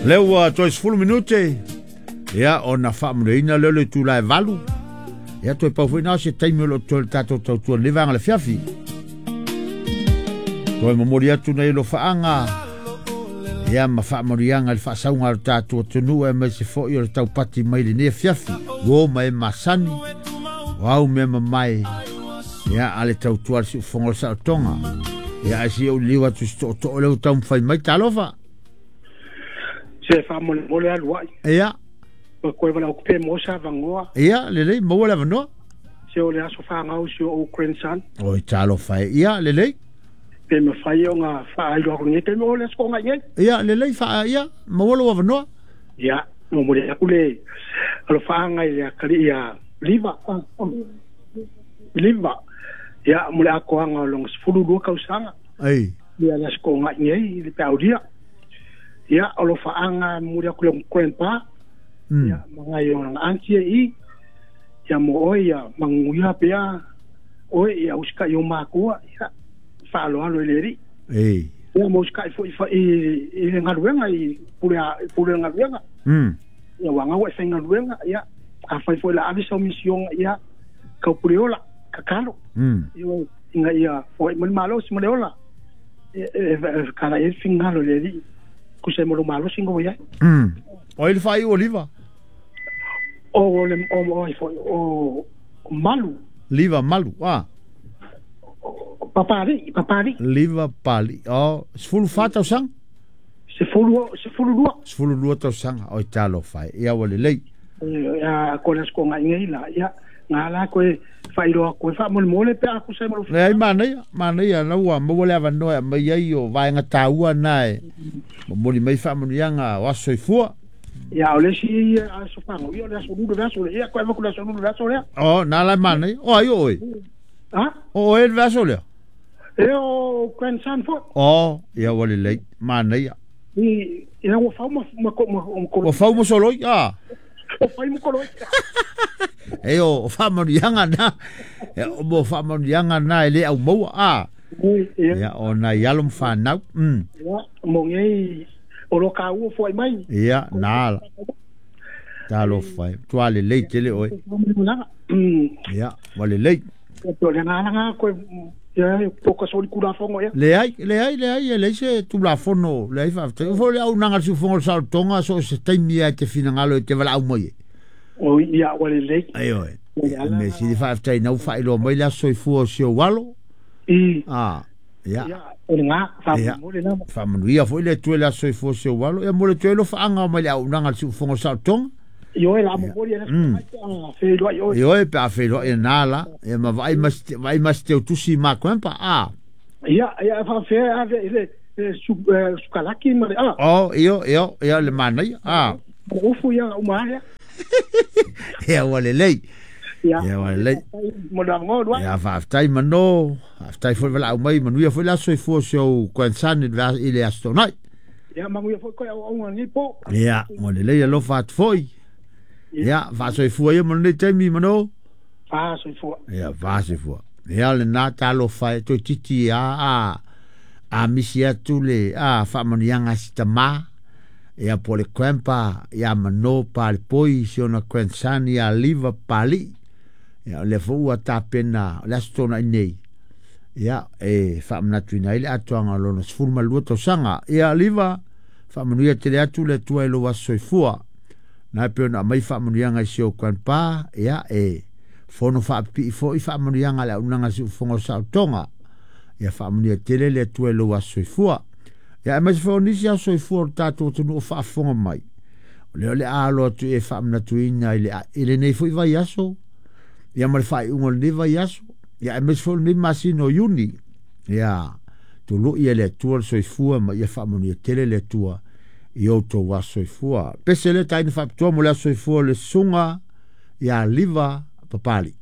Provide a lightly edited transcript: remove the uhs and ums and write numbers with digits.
Lea ua toe 10 minute ia ona faamanuiaina lea o le itula e 8. Ia toe pau foi na o se taimi o lo o toe le tatou tautua lenei vaega o le afiafi. Toe momoli atu nei alofaaga ia ma faamanuiaga i le faasauga a le tatou atunuu aemaise foi o le taupati mai lenei afiafi. Uo ma e masani, o au mea mamae ia a le tautua a le siufofoga o le saotoga. Ia ae se i ou liliu atu i se tootoo lea ua taumafai mai. Talofa! Se faamolemole alu ai. Ia. O koe wala okupe mo sa vangoa. Ia, lelei, maua le avanoa. Se o le aso whangau si o grandson. Oi, talofa e. Ia, lelei. Pe mawhai o ngā whaailoa aku nei, te mo le aso ngai nei. Ia, lelei, wha, ia, maua lou avanoa. Ia, mo mo le aku le alo whaangai le akali ia liva. Liva. Ia, mo le akoanga o longa 12 kausanga. Ei. Ia le aso ngai nei, le peaulia. Ia, o lo whaanga mo le aku le grandpa. Ia, mangai o nga auntie i. Ia mo oi, ia manguia pea. Oi, ia usika i o mākua. Ia, whaaloalo i le ri. Ei. Ia mo usika i fo i le ngaluenga, i pule pule ngaluenga. Ia wanga wa i ngaluenga, ia, a whai fo i la avisa o misionga, ia, kau pule ola, kakalo. Ia, inga ia, fo i mani malo si male ola. E kala e fingalo le ri. Kusa mo lo malo singo ia. O ile fai o liva. O le o o malu. Liva malu, ah. Papali, papali. Liva pali. O, 14 tausaga. 12. 12 tausaga. O talofa e. Ia ua lelei. Ia ko le sko ngai ngai la. Ia ngā la koe whairoa koe whaamolemole pe aku se malo. Leai manaia, manaia na ua maua le avanoa e aumai ai o vaega taua na e momoli mai faamanuiaga o aso soifua. Ia o le isi aso whango, ia o le aso lulu le aso le, ia koe avaku le aso lulu le aso lea. O, nā la e manaia. O ai o oe? Ha? O oe le aso lea? E o grandson fo. O, ia ua lelei, manaia. I, ia ua fau ma, ma, ma, ma, Ua fau ma soloi, a? O fai mo koloi. E o faamanuiaga na. E o mo faamanuiaga na e le au maua, a? Ia. Ia, o nai alo ma whanau. Ia, mo ngei, o lo ka ua fuai mai. Ia, nā la. Talofa e. Tua lelei tele oe. Ia, ua lelei. O le ngā koe, ia, poka soli kulafono ia. Leai, leai, leai, e leai se tulafono, leai faafetai. O foi le auaunaga a le siufofoga o le saolotoga, so o se taimi lava e te finagalo e te valaau mai ai. O ia, ua lelei. Ai oe. Mea sili faafetai na ua faailoa mai le aso soifua o si ou alo. Ah, ia. Ia, o le ngā, faamolemole lava. Faamanuia foi le Atua i le aso soifua o si ou alo. Ia mo le toe alofaaga mai le auaunaga a le siufofoga o le saolotoga. Ioe, la momoli e le mai pe a feiloai oe. Ioe, pe a feiloai e nā la. Ia ma vaai ma vaai ma se teutusi ma grandpa, a. Ia, ia, faafefea ave i le sukalaki ma le a. O, io, io, ia le manaia, a. O ufu ia uma lea. Ia ua lelei. Ia. Ia ua lelei. Mo le avanoa lua. Ia faafetai mano, faafetai foi le valaau mai, manuia foi le aso soifua o si ou grandson i le Aso Toonai. Ia manuia foi koe auauga lenei po. Ia, ua lelei alofa atu foi. Ia, faasoifua ia mo lenei taimi mano. Faasoifua. Ia, faasoifua. Ia, lena talofa e toeitiiti a a misi atu le a faamanuiaga a si tamā. Ia po o le grandpa ia Mano Palepoi si ona grandson ia Liva Pali'i. Ia o lea foi ua tapena o le Aso Toonai nei. Ia e faamanatuina ai le atoaga o lona 12 tausaga. Ia Liva, faamanuia tele atu le Atua i lou aso soifua. Na e pei ona aumai faamanuiaga i si ou grandpa, ia e fono faapipii foi faamanuiaga a le auaunaga a le Siufofoga o Saolotoga. Ia faamanuia tele le Atua i lou aso soifua. Ia aemaise foi o nisi aso soifua o le tatou atunuu o faafofoga mai. O lea o le a alo atu e faamanatuina i lenei foi vaiaso, ia ma le faaiuga o lenei vaiaso, ia aemaise foi o lenei masina o Iuni. Ia tului e le Atua le soifua ma ia faamanuia tele le Atua i outou aso soifua. Pese lea taina faapitoa mo le aso soifua o le susuga ia Liva Papali.